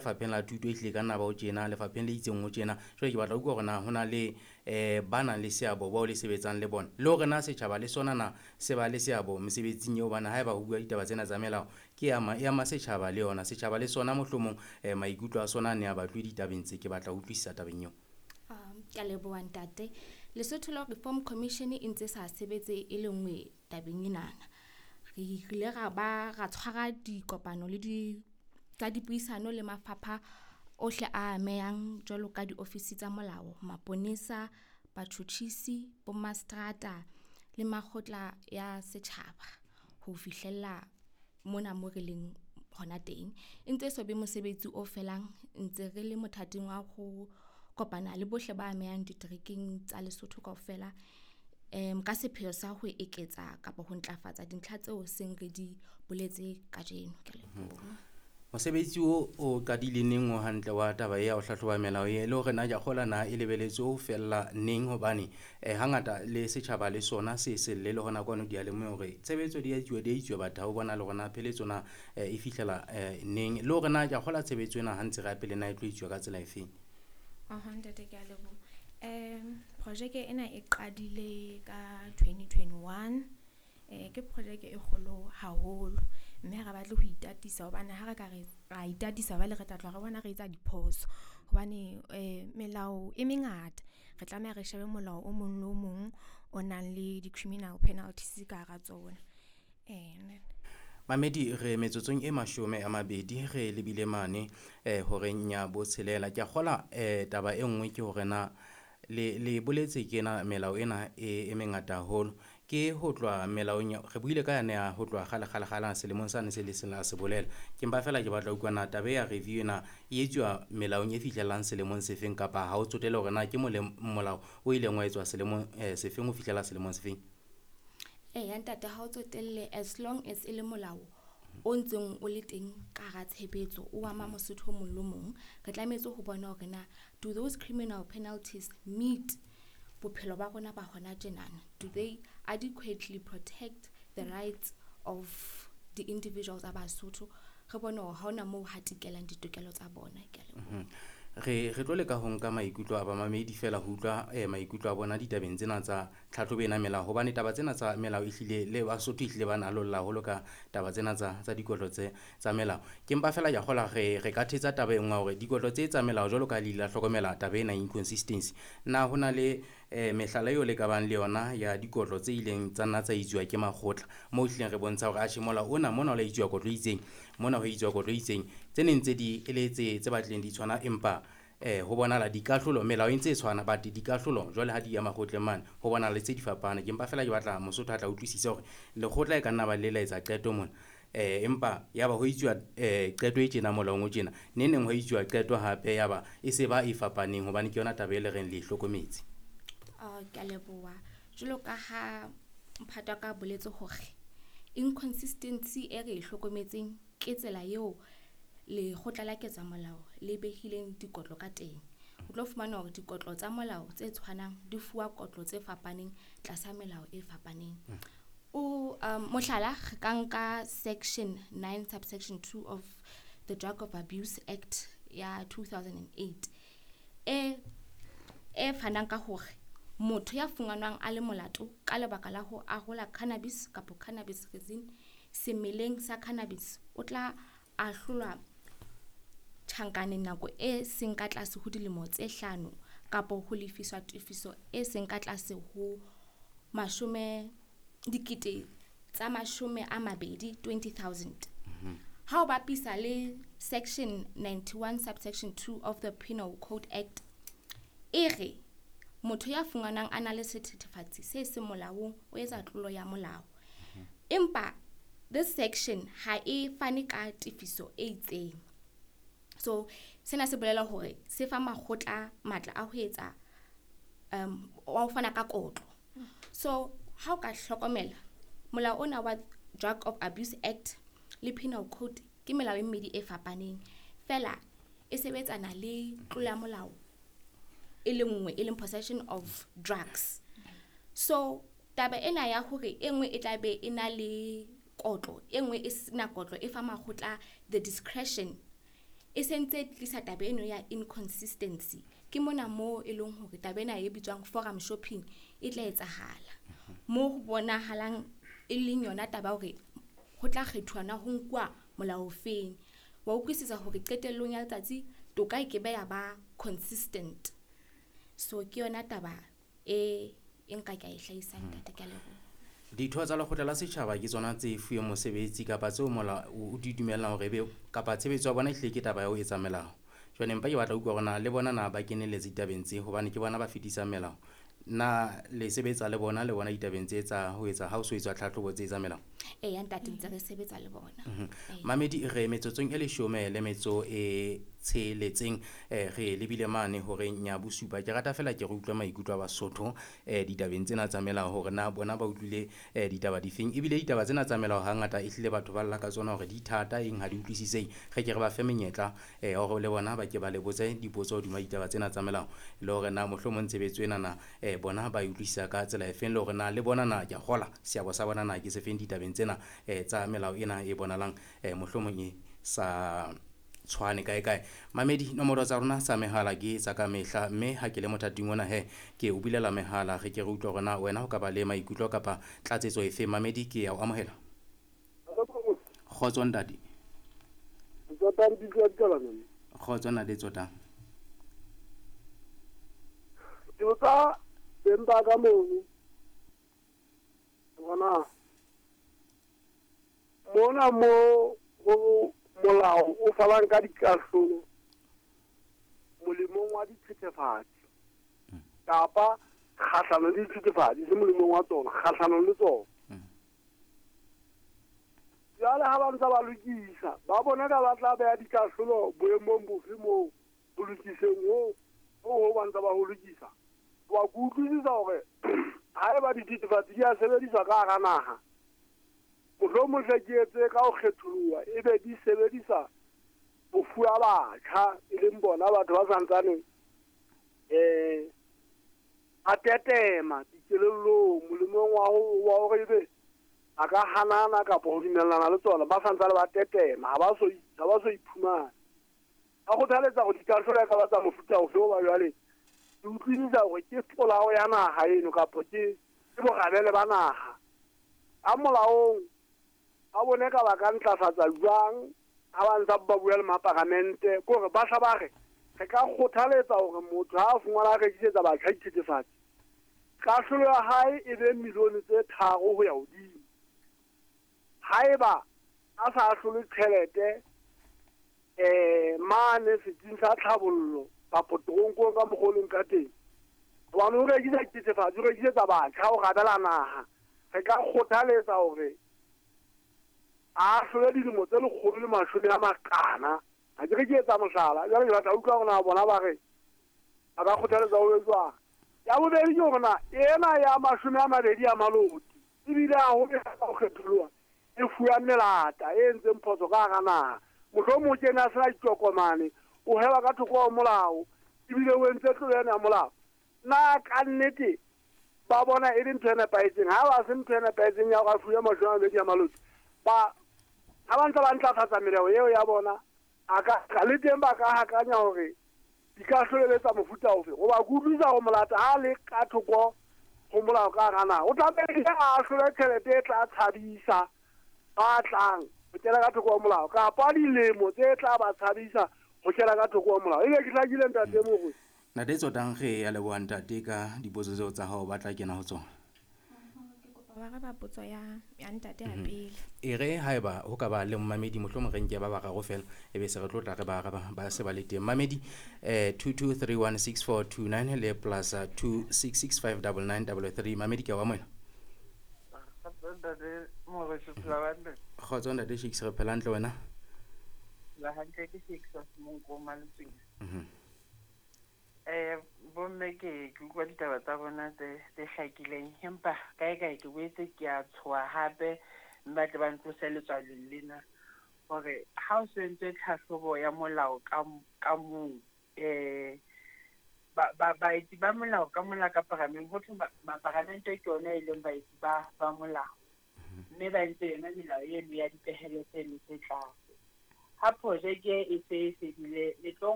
Lefapheng la thuto ehlile ka nna ba o tjena, lefapheng le itseng ho tjena. Jwale ke batla ho utlwa hore na ho na le ba nang le seabo bao le sebetsang le bona. Le hore na setjhaba le sona na se ba le seabo mesebetsing eo hobane haeba ho bua ditaba tsena tsa melao, ke ama e ama setjhaba le yona. Setjhaba le sona mohlomong maikutlo a sona a ne a batlwe ditabeng tse. Ke batla ho utlwisisa tabeng eo. Ke a leboha ntate. Lesotho Law Reform Commission e ntse sa sebetse e le nngwe tabeng enana. Re ile ra ba ra tshwara dikopano le di tsa dipuisano le mafapha ohle a amehang jwalo ka diofisi tsa molao, maponesa, batjhutjhisi, bomaseterata le makgotla ya setjhaba ho fihlella mona mo re leng hona teng. E ntse so be mosebetsi o felang ntse re le mothating wa ho kopana le bohle ba amehang diterekeng tsa Lesotho kaofela. Ka sepheo sa ho eketsa kapa ho ntlafatsa dintlha tseo seng re di boletse kajeno. Ke a leboha. Mosebetsi o o qadile neng o hantle wa taba ya ho hlahloba melao e le hore na ke a kgolwa na e lebeletswe ho fella neng hobane hangata le setjhaba le sona se selle le hona kwano diyalemoyeng hore tshebetso di a etsuwa di a etsuwa batho ha o bona le hore na pheletso na e fihlela neng. Le hore na ke a kgolwa tshebetso ena ha ntse re ya pele na e tlo etsuwa ka tsela efeng. Aha, ntate ke a leboha. Projeke ena e qadile ka 2021. Ke projeke e kgolo haholo mme ha re batle ho itatisa hobane ha re ka re ra itatisa jwale re tla tloha re bona re etsa diphoso. Hobane melao e mengata, re tlameha re shebe molao o mong le o mong o nang le di-criminal penalties ka hara tsona. Mamedi re metsotsong e 20 re lebile mane horeng ya botshelela. Ke a kgolwa taba e nngwe ke hore na le boletse ke ena melao ena e mengata haholo. Ke ho tloha melaong re buile ka yane ya ho tloha kgale kgale kgale selemong sane se le seng la se bolela. Ke mpa feela ke batla ho utlwa na taba ya review ena e etsuwa melaong e fihlelang selemong sefeng kapa ha o tsotelle hore na ke molao o ileng wa etswa selemong sefeng ho fihlela selemong sefeng? Eya ntate ha o tsotelle as long as e le molao o ntseng o le teng ka hara tshebetso o ama Mosotho o mong le mong. Re tlametse ho bona hore na do those criminal penalties meet bophelo ba rona ba hona tjenana? Do they adequately protect the rights of the individuals a Basotho? Re bone hore ha hona moo hatikelang ditokelo tsa bona. Ke a leboha. Re tlo leka ho nka maikutlo a bamamedi fela ho utlwa maikutlo a bona ditabeng tsena tsa tlhahlobo ena melao, hobane taba tsena tsa melao ehlile le Basotho ehlile ba na lolla haholo ka taba tsena tsa dikotlo tse tsa melao. Ke mpa fela ke a kgolwa re ka thetsa taba e nngwe hore dikotlo tse tsa melao jwalo ka le ile la hlokomela taba ena inconsistency. Na ho na le mehlala eo le ka bang le yona ya dikotlo tse ileng tsa nna tsa etsuwa ke makgotla moo ehlileng re bontsha hore atjhe molao ona mona o la etsuwa kotlo e itseng, mona ho etsuwa kotlo e itseng, tse neng tse di e le tse batlileng di tshwana empa ho bonahala dikahlolo melao e ntse e tshwana but dikahlolo jwale ha di ya makgotleng mane ho bonahala le tse di fapane. Ke mpa fela ke batla Mosotho a tla utlwisisa hore lekgotla e ka nna ba le la etsa qeto mona empa ya ba ho etsuwa qeto e tjena molaong o tjena, neng neng ho etsuwa qeto hape ya ba e se ba e fapaneng hobane ke yona taba e le reng le e hlokometse. Ke a leboha. Jwalo ka ha mphato wa ka boletse hore inconsistency e re e hlokometseng ke tsela eo lekgotla la ketsa molao le behileng dikotlo ka teng. O tlo fumana hore dikotlo tsa molao tse tshwanang di fuwa kotlo tse fapaneng tlasa melao e fapaneng. O mohlala re ka nka section 9 subsection 2 of the Drug of Abuse Act ya 2008 e fanang ka hore motho ya fumanwang a le molato ka lebaka la ho arola cannabis kapa cannabis resin semeleng sa cannabis o tla ahlolwa tjhankaneng nako e seng ka tlase ho dilemo tse 5 kapa ho lefiswa tefiso e seng ka tlase ho 20,000 20,000. Ha o bapisa le section 91 subsection 2 of the Penal Code Act e re motho ya fumanwang a na le sethethefatsi se seng molaong o etsa tlolo ya molao. Empa this section ha e fane ka tefiso e itseng. So sena se bolela hore se fa makgotla matla a ho etsa wa ho fana ka kotlo. So ha o ka hlokomela molao ona wa Drug of Abuse Act le Penal Code ke melao e mmedi e fapaneng fela e sebetsana le tlolo ya molao e le nngwe e leng possession of drugs. So taba ena ya hore e nngwe e tla be e na le kotlo e nngwe e sena kotlo e fa makgotla the discretion. E sentse tlisa taba eno ya inconsistency. Ke mona mo e leng hore taba ena e bitswang forum shopping e tla etsahala. Mo ho bonahalang e leng yona taba hore ho tla kgethuwa na ho nkuwa molao ofeng. Wa utlwisisa hore qetellong ya letsatsi toka e ke be ya ba consistent. So ke yona taba e nka ka e hlahisang ntate, ke a leboha. Ditho tsa lekgotla la setjhaba ke tsona tse fuweng mosebetsi kapa tseo molao o di dumellang hore ebe kapa tshebetso ya bona ehlile ke taba ya ho etsa melao. Jwale empa ke batla ho utlwa hore na le bona na ba kenelletse ditabeng tse, hobane ke bona ba fetisang melao. Na le sebetsa le bona ditabeng tse tsa ho etsa ha o so etswa tlhahlobo tse tsa melao? Eya ntate, ntse re sebetsa le bona. Mamedi, re metsotsong e 16 re lebile mane horeng ya bosupa. Ke rata fela ke re utlwe maikutlo a Basotho ditabeng tsena tsa melao, hore na bona ba utlwile ditaba difeng. Ebile ditaba tsena tsa melao hangata ehlile batho ba lla ka tsona hore di thata, eng ha di utlwisisehe. Re ke re ba fe menyetla hore le bona ba ke ba le botse dipotso hodima ditaba tsena tsa melao, le hore na mohlomong tshebetso ena na bona ba e utlwisisa ka tsela efeng, le hore na le bona na ke a kgola seabo sa bona na ke sefeng ditabeng tsena tsa melao ena e bonalang mohlomong e sa tshwane kae kae. Mamedi, nomoro tsa rona tsa mehala ke tsa ka mehla, mme ha ke le mothating ona he ke o bulela mehala, re ke re utlwe hore na wena o ka ba le maikutlo kapa tlatsetso efe. Mamedi, ke ya o amohela. Kgotso ntate. Kgotso ntate Tsotang. Ke botsa beng ba ka mono bona mona mo ho molao o falang ka dikahlolo molemong wa dithethefatsi kapa kgahlanong le dithethefatsi, se molemong wa tsona, kgahlanong le tsona. Jwale ha ba ntse ba lokisa, ba bona ka ba tla beha dikahlolo boemong bofe moo ho lokiseng ho ba ntse ba ho lokisa. Wa ke utlwisisa hore ha eba dithethefatsi di a sebediswa ka hara naha, mohlomong hle ke etse ka ho kgetholoha, ebe di sebedisa ho fuwa batjha, e leng bona batho ba santsaneng a tetema dikelellong molemong wa hore ebe a ka hanana kapa ho dumellana le tsona, ba santsane ba tetema, ha ba so iphumane. A kgothaletsa hore dikahlolo e ka ba tsa mofuta ofe, hoba jwale ke utlwisisa hore ke polao ya naha eno kapa ke borabele ba naha. A molaong a bone ka ba ka ntlafatsa jwang ha ba ntsa ba bua le maparamente, ke hore ba hla ba re re ka kgothaletsa hore motho ha a fumana a rekisetsa batjha dithethefatsi, kahlolo ya hae e be milione tse 3 ho ya hodimo. Haeba a sa ahlole tjhelete mane setsing sa tlhabollo kapa toronkong ka mokgwa o leng ka teng, hobane o rekisa dithethefatsi, o rekisetsa batjha ho rabela naha, re ka kgothaletsa hore a ahlole dilemo tse 140. Ha ke re ke etsa mohlala, jwale ke batla utlwa hore na bona ba re ba ka kgothaletsa ho jwang. Ya bobedi ke hore na ena ya 20 ya maloti ebile ha ho ho kgetholoha e fuwa melata e entseng phoso ka hara naha, mohlomong o kene a sena ditokomane, o heba ka thoko ho molao ebile o entse tlolo ena ya molao. Na ka nnete ba bona e le ntho e nepahetseng? Ha ba se ntho e nepahetseng ya hore a fuwe 20 ya maloti, ba ha ba ntse ba ntlafatsa melao eo ya bona, a ka le teng ba ka hakanya hore dikahlolo tsa mofuta ofe, hoba ke utlwisisa hore molata ha le ka thoko ho molao ka hara naha, o tlamehile a ahlole tjhelete e tla tshabisa ba tlang ho kena ka thoko ho molao, kapa dilemo tse tla ba tshabisa ho kena ka thoko ho molao. Ebe ke hlakile ntate Morwe? Ntate Tsotang, re ya leboha ntate ka dipotso tseo tsa hao, ba tla kena ho tsona. Ke kopa wa araba potso ya ntate ya pele. E re haeba ho ka ba le mmamedi, mohlomong re nke ba bararo fela, ebe se re tlo tla re ba araba ba se ba le teng. Mamedi 22316429 le plus 26659933. Mamedi, ke wa moena. Kgotso ntate Shakes, re phela hantle wena? La hantle, ke Shakes wa Semonko Maletsweng. Bomme ke utlwa ditaba tsa bona tse hlakileng, empa kae kae ke boetse ke a tshoha hape, mme ba tle ba ntlose letswalong lena hore ha o so entswe tlhahlobo ya molao ka mong, baetsi ba molao ka mola ka parameng, ho thwe maparamente ke yona e leng baetsi ba molao, mme ba entse yona melao eno ya dipehelo tseno tse tlase. Ha projeke e se e fedile, le tlo